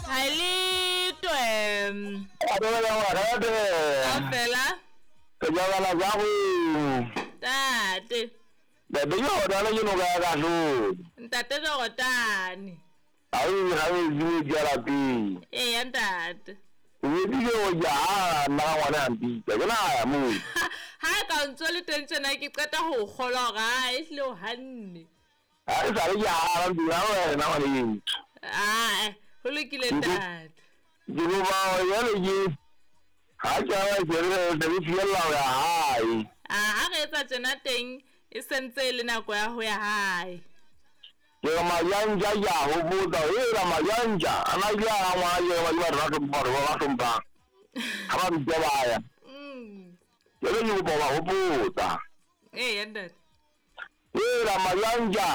Ha le twe. Kaofela. Tate. Ntate Jorotane. Eya ntate. Ha ka o ntso le teng tjena ke qeta ho kgolwa hore ha e hlile o hanne. Ha e sale ke hara dula wena ngwaneso. Ae, ho lokile ntate. Ke kopa jwale ke ha ke a ke re ke fiella ho ya hae. A ha re etsa tjena teng e sentse e le nako ya ho ya hae. Ke re Majanja ke a hopotsa hela Majanja a na ile a ngwana ke ba batho ba hlompha batho ba hlomphang. Ha ba bitsa ba ya. Jwale ke kopa ba hopotsa. Ee ntate. Hela Majanja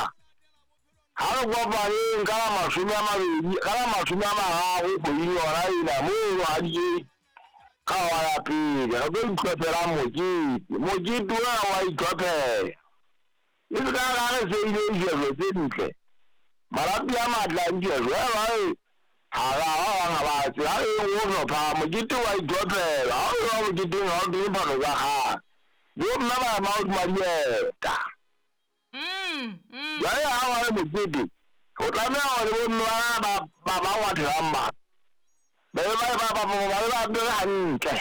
ha re kopaneng ka la 20, ka la 30 kgweding yona ena mono ha di ka wa ya pele re tlo itlhophela mokete. Mokete ona wa itlhophela. E se ka ra re seile dijelo tse ntle. Malapi a matle a dijelo. E ha ra ba bang ha ba tse. Ha re o hlopha mokete wa itlhophela. Ha o ya moketeng ha o kenye phahlo tsa kgale. Bo mme ba ema hodima dieta. Jwale ha wa le mokete, o tlameha hore bo mme ba ba ba ngwathelang ba. Ba be ba ba ba ba ba apere hantle.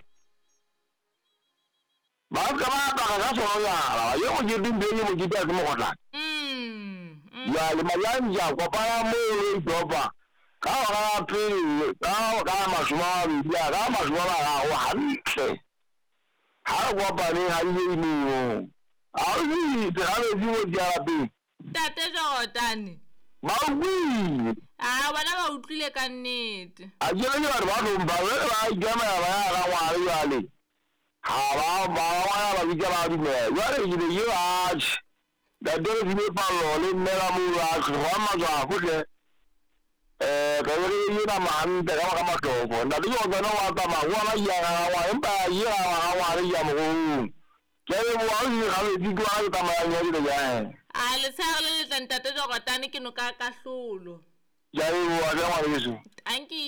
Ba ska ba apara ka sononyana. Ye mokete ntho e mokete ha se mokgotlana. Jwale Majanja kopana moo le itlhopha ka hora ya pele ka 20 ka 30 hantle. Ha re kopaneng ha di moo. Ha o itse ha metsi mo di lapeng. Ntate Jorotane. Ba utlwile. A bona ba utlwile ka nnete. A ke re ke batho ba hlompha jwale ba ikemela ba ya ka ngwana jwale. Ha ba ba ngwana ba bitsa ba dumela. Jwale ke be ke atjhe. Ntate re file pallo le mme la moo a tloha matswafo hle. Ka be re e nama hantle ka baka mahloko. Ntate Jorotane wa tsamaya ngwana ke ya ka ngwana empa ye ga ngwana ke ya mogolong. Ke a leboha o ile gabedi ke wa ke tsamayang ya dilo ja. A letshehare le letle ntate Jorotane ke noka ya kahlolo. Ke a leboha hle ngwaneso. Tanki.